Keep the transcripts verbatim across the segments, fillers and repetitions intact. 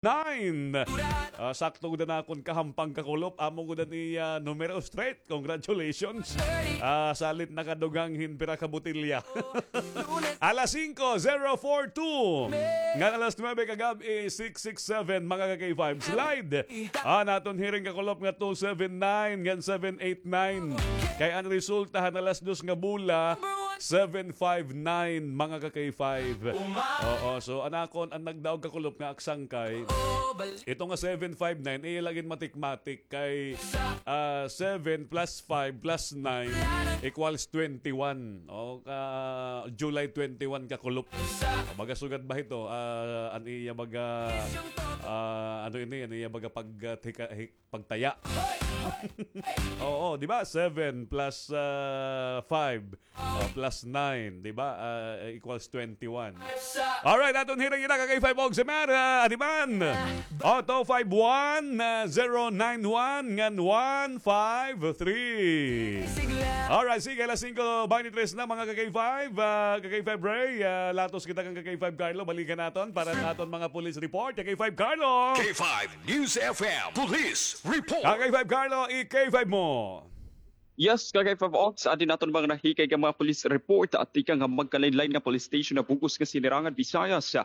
nine. Ah, sakto gud an akon kahampang kakulop. Amo gud an iya numero straight. Congratulations. Ah, salit nakadugang hin pira ka botelya. Alas singko, zero four two. Ngan alas nuebe kagab-i, six six seven, mga ka-K five. Slide. Ah, naton hiring kakulop nga two seven nine ngan seven eight nine. Kay an resulta han alas dos nga bola, seven five nine, mga ka-K five. Oo, so an akon, an nagdaog kakulop nga aksangkay, ito nga seven five nine, iya la gin mathematic kay, ah, seven plus five plus nine equals twenty-one. O, ka July twenty-one kakulop. Baga sugad ba ito? Ah, an iya baga, ah, ano ini? An iya baga pag, ah, tika-, hik-, pagtaya. Oo, di ba? Seven plus, ah, five, ah, plus nine, di ba? Ah, equals twenty-one. Alright, aton hiring ina ka-K five og si Mara, adiman. O, two five one, ah, zero nine one ngan one five three. Alright, sige, alas singko baynte tres na, mga ka-K five, ah, ka-K five Ray, ah, latos kita kan ka-K five Carlo, balikan naton para sa aton mga police report. Ka-K five Carlo! K five News F M Police Report. Ka-K five Carlo, i-K five mo. Yes, ka-K five Ox, adi naton mga nahikay nga mga police report at tikang ha magkalain-lain nga police station ha bug-os nga Sinirangan, Visayas.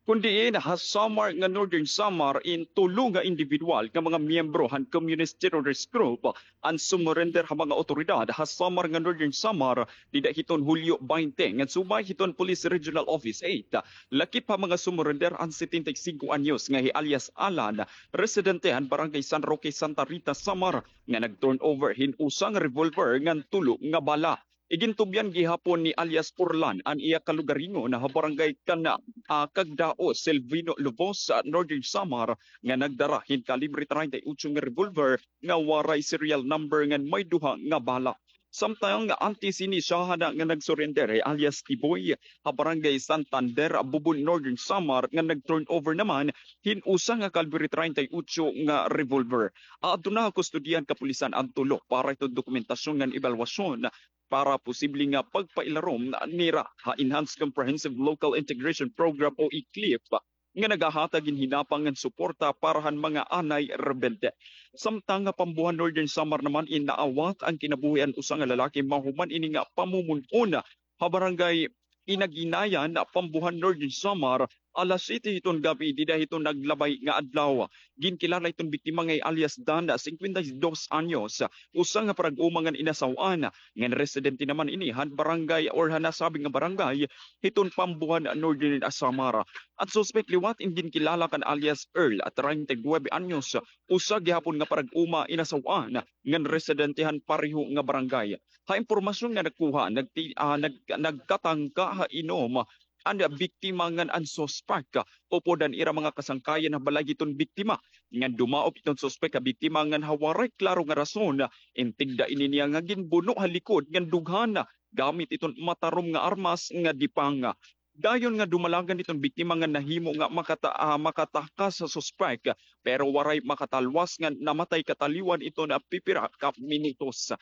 Kun diin, ha Samar nga Northern Samar, in tulo nga individual nga mga miyembro han Communist Terrorist Group an sumurrender ha mga awtoridad ha Samar nga Northern Samar dida hiton Hulyo baynte, ngan subay hiton Police Regional Office eight. Lakip ha mga sumurrender an setenta y cinco anyos nga hi alias Alan, residente han Barangay San Roque, Santa Rita, Samar, nga nag-turnover hin usa nga revolver ngan tulo nga bala. Igintubyan gihapon ni alias Orlan an iya kalugaringon ha Barangay Kana, ah, Cagdao, Silvino Lobos, ah, Northern Samar, nga nagdara hin kalibre treinta y ocho nga revolver nga waray serial number ngan may duha nga bala. Samtang antes hini siya na nga nagsurrender hi alias Tiboy ha Barangay Santander, Bubon, Northern Samar, nga nag-turnover naman hin usa nga kalibre treinta y ocho nga revolver. Aduna ha kustodiya han kapulisan an tulo para hiton dokumentasyon ngan ebalwasyon para posible nga pagpailarom nira ha Enhanced Comprehensive Local Integration Program o ECLIP nga nagahatag hin hinapang ngan suporta para han mga anay rebelde. Samtang ha Pambuhan, Northern Samar naman, in naawat an kinabuhi an usa nga lalaki mahuman ini nga pamumon-on ha Barangay Inaginayan, Pambuhan, Northern Samar, alas siyete hiton gab-i dida hiton naglabay nga adlaw. Ginkilala hiton biktima nga hi alias Dan, singkwenta y dos anyos, usa nga parag-uma ngan inasaw-an, ngan residente naman ini han barangay or han nasabi nga barangay hiton Pambuhan, Northern Samar. An suspek liwat in ginkilala kan alias Earl, treinta y nuebe anyos, usa gihapon nga parag-uma, inasaw-an, ngan residente han pareho nga barangay. Ha impormasyon nga nakuha, nagti-, ah, nag-, nagkatangka ha inom an biktima ngan an suspek upod han ira mga kasangkayan ha balay hiton biktima. Ngan dumaop iton suspek ha biktima ngan ha waray klaro nga rason, in tigda ini niya nga ginbuno ha likod ngan dughan gamit iton matarom nga armas nga dipang. Dayon nga dumalagan iton biktima nga nahimo nga makata-, ah, makatakas sa suspek, pero waray makatalwas ngan namatay kataliwan iton pipira ka minutos.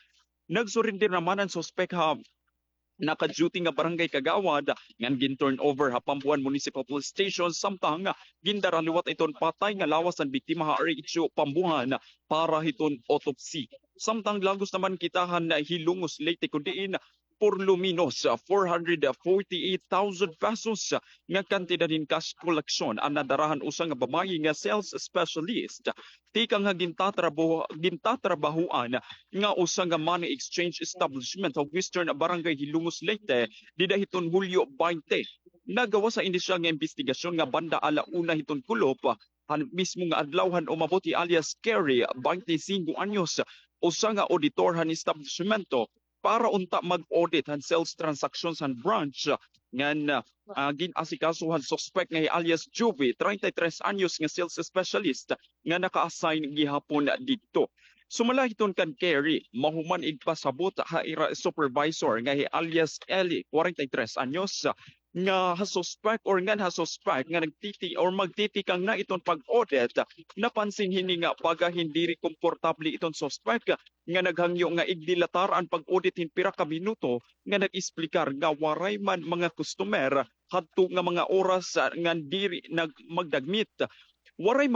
Nagsurrender naman an suspek ha naka-duty nga barangay kagawad, ngan gin-turnover ha Pambuhan Municipal Police Station, samtang gindara liwat iton patay nga lawas han biktima ha R H U Pambuhan para hiton autopsy. Samtang lagos naman kita han Hilongos, Leyte, kun diin por lo menos four hundred forty-eight thousand pesos nga kantidad hin cash collection an nadara han usa nga babaye nga sales specialist tikang ha gintatrabaho-, gintatrabahoan nga usa nga money exchange establishment ha Western Barangay Hilongos, Leyte, dida hiton Hulyo baynte. Nagawas ha inisyal nga imbestigasyon nga banda ala una hiton kulop, han mismo nga adlaw han umabot hi alias Kerry, baynte singko anyos, usa nga auditor han establisimento, para unta mag-audit han sales transactions han branch ngan, ah, gin-asikaso han suspek nga hi alias Juvie, treinta y tres anyos, nga sales specialist nga naka-assign gihapon didto. Sumala hiton kan Kerry, mahuman igpasabot ha ira supervisor nga hi alias Ellie, kwarenta y tres anyos, nga ha suspek or ngan ha suspek nga nagtiti-, or magtitikang na iton pag-audit, napansin hini nga baga hin diri komportable iton suspek nga naghangyo nga igdilatar an pag-audit hin pira ka minuto nga nag-esplikar nga waray man mga customer hadto nga mga oras, ah, ngan diri nag-, magdagmit. Waray